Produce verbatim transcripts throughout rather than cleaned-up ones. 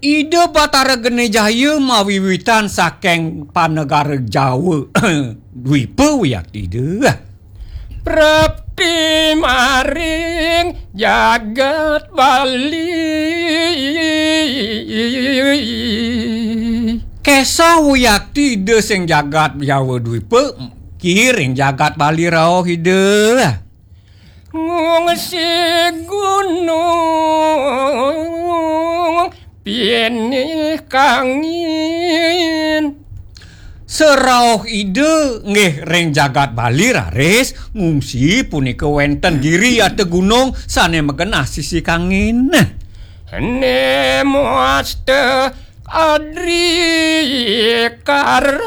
Ida Batara Geni Jaya mawiwitan saking panegara Jawa Dwipa, wiakti Ida. Prapti maring jagat Bali. Kesah, wiakti Ida, sing jagat Jawa Dwipa, ki ring jagat Bali rauh Ida. Ngungsi gunung pinih kangin. Serauh Ida nggih ring jagat Bali raris ngungsi punika wenten giri atau gunung sane magenah sisi kangin. Nemoste Adri Karang.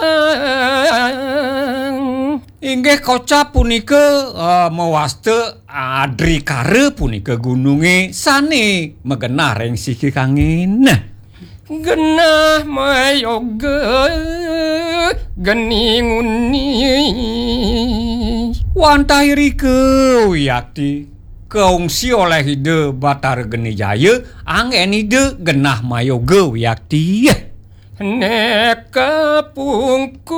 Inggih kocap punika, eh, mawasta Adrikara punika gununge sane magenah ring siki kangin. Genah mayoga geni nguni. Wantah irika, wiakti, kaungsi oleh Ida Batara Geni Jaya, anggen Ida genah mayoga, wiakti. Neka pungkur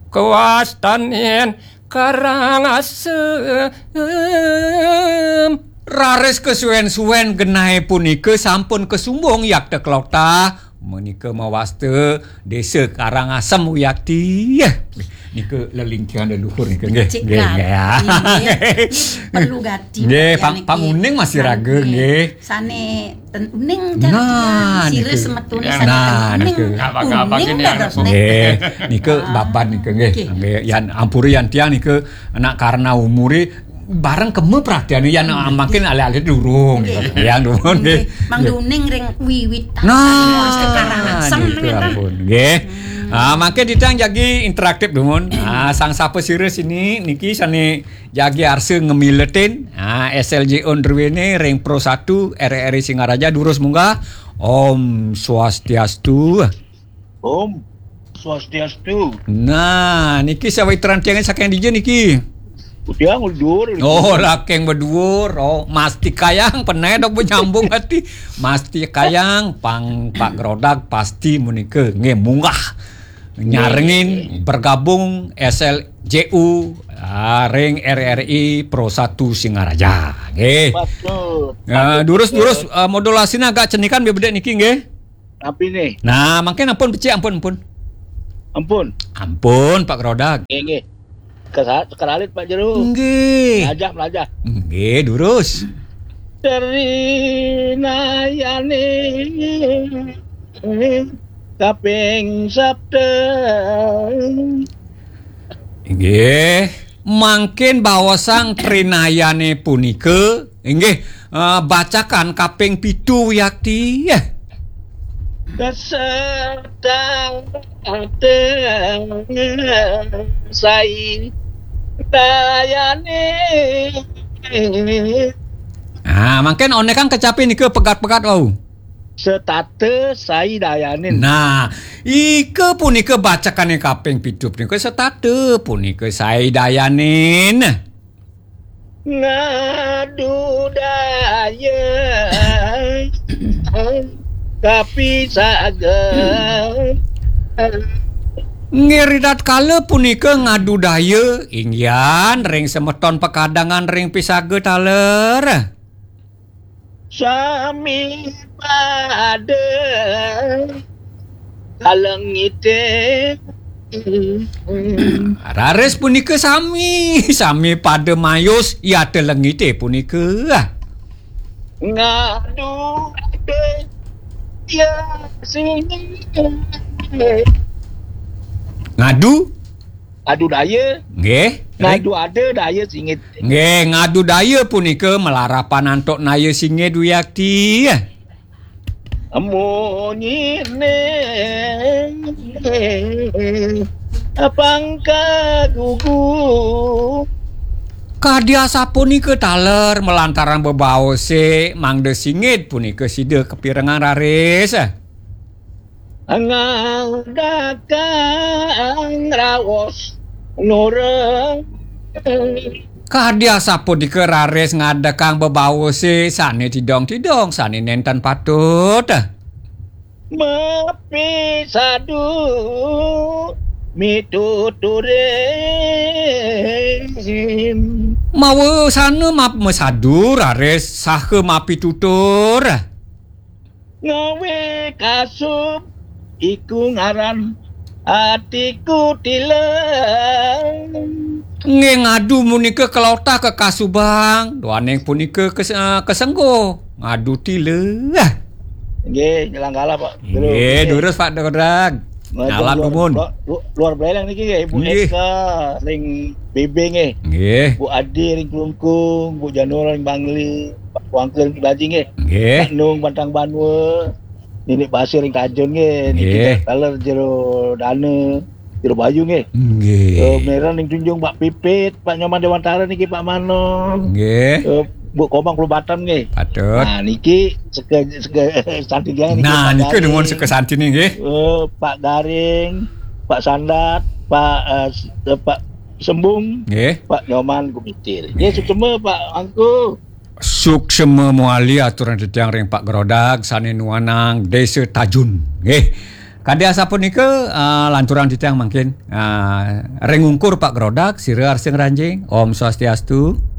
kawastanin Karangasem. Raris kasuwen-suwen genahe punika sampun kasumbung yakta kelokta. Menika mawasta Desa Karangasem, wiakti. Nika lelingkihan leluhur nika nggih. Cik nggih, Gat. Nggih. Nggih. Ini perlu gati. Nggih, ya, pang-, niki. Panguning masih raga nggih. Sane ten uning. Nah, sira nika. Semetune sane nah, ten uning. Nika. Ngapa-ngapa uning gini dados anak nek. Nggih, nika ah, baban nika nggih. Nggih. Nggih, yan ampura yan tiang nika anak karena umure bareng kema praktiane yan hmm, mungkin alih-alih durung. Nggih. Gitu. Yang durung nggih. Nggih. Mang duning ring wiwit. Nah, sekarang asem nika ngeten. Ampun nggih. Hmm. Ah, mangke ditang jagi interaktif dumun. Ah, sang sapa sira sini niki sane jagi arsa ngemiletin, ah, S L J O druwene ring Pro satu R R I Singaraja durus munggah. Om Swastiastu. Om Swastiastu. Nah, niki sawitran tiange saking dija niki? Tiang dhuwur. Oh, laking beduwur. Oh, Mas Tikayang pernah dok nyambung ati. Mas Tikayang pang Pak Grodak pasti menika nggih munggah. Nyarengin bergabung S L J U, ah, ring R R I Pro satu Singaraja. Nggih. Patut. Ah, patut, durus, patut. Durus, ah, modulasine agak cenikan biar bedek niki nggih. Napi nih? Nah, mangkin ampun becik, ampun, ampun. Ampun. Ampun, Pak Grodak. Nggih, nggih. Kesa-, keralit Pak Jero. Nggih. Melajah, melajah. Nggih, durus. Trinayane kaping sapta. Inggih, mangkin baosang trinayane punika, inggih, eh, bacakan kaping pitu, wiakti. Kesetang sai dayane. Ah, mangkin one kang kecapi nika pegat-pegat wau. Setata sai dayanin. Nah, ika punika bacakane kaping pitu punika setata punika sai dayanin. Ngadu daya kapisaga. Nggih, ritatkala punika ngadu daya inggihan ring semeton pekadangan ring pisaga taler. Sami pada kalengite. Raris punika sami, sami pada mayus yata lengite punika. Ngadu ya sini. Ngadu? Adu daya. Nggih. Ngadu ada daya singit. Nggih, ngadu daya punika malarapan antuk naya singit wiakti. Munyine pangka gugu. Kadi asapunika taler malantaran bebaose mangda singit punika sida kapirengang raris. Ngandakang raos nureng. Kadi asapunika raris ngadekang bebawuse sane tidong-tidong, sane nenten patut. Mapi sadu mituturing. Mawa sana map-, masadu raris saha mapi tutur. Ngawe kasub iku ngaran atiku tilang. Nggih, ngadu munika kelotah kekasubang, duaning punika kes-, eh, kesengguh ngadu tilah. Nggih, nyelang kalah, Pak. Nggih, durus, Pak Grodag. Nyalam luar, dumun. Luar, luar Beleng niki nggih, Bu Nggih. Eka ring B B nggih. Nggih. Bu Adi ring Klungkung, Bu Janur ring Bangli, Pak Wangkil ring Baji nggih. Nggih. Pak Nung Pantang Banua, Nini Pasir ring Tajun nggih, niki Nggih. Taler Jero Dana, Jero Bayu nggih. Nggih. Eh, Meran ring Tunjung, Pak Pipit, Pak Nyoman Dewantara niki, Pak Manon. Nggih. Eh, Bu Komang Pelubatan nggih. Patut. Nah, niki seke, seke santi dia niki, Nah, Pak nika Garing. Dumun seke santine nggih. Eh, Pak Garing, Pak Sandat, Pak, eh, s-, eh, Pak Sembung, Nggih. Pak Nyoman Gumitir. Nggih, suksema Pak Angku. Suksema muali aturang titiang ring Pak Grodag sane nuanang Desa Tajun. Nggih. Kadi asapunika, ah, lanturang titiang mangkin, ah, ring ungkur Pak Grodag, sira arsing ranjing. Om Swastiastu.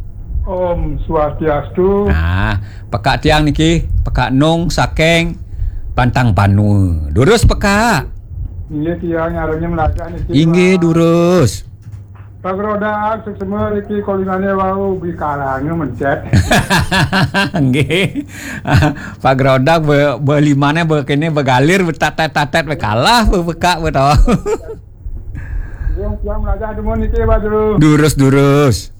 Om Swastiastu. Nah, pekak tiang niki, pekak Nung saking Pantang Banua. Durus pekak. Inggih, tiang nyarengin melajah niki, Inggih, Pak. Durus. Pak Grodag, suksema niki kolingane wau bikalane mencet. Nggih. Pak Grodag be, belimane be kene begalir betatet-tatet be kalah be bekak be to. Nggih, tiang melajah dumun niki, Pak Juru. Durus, durus.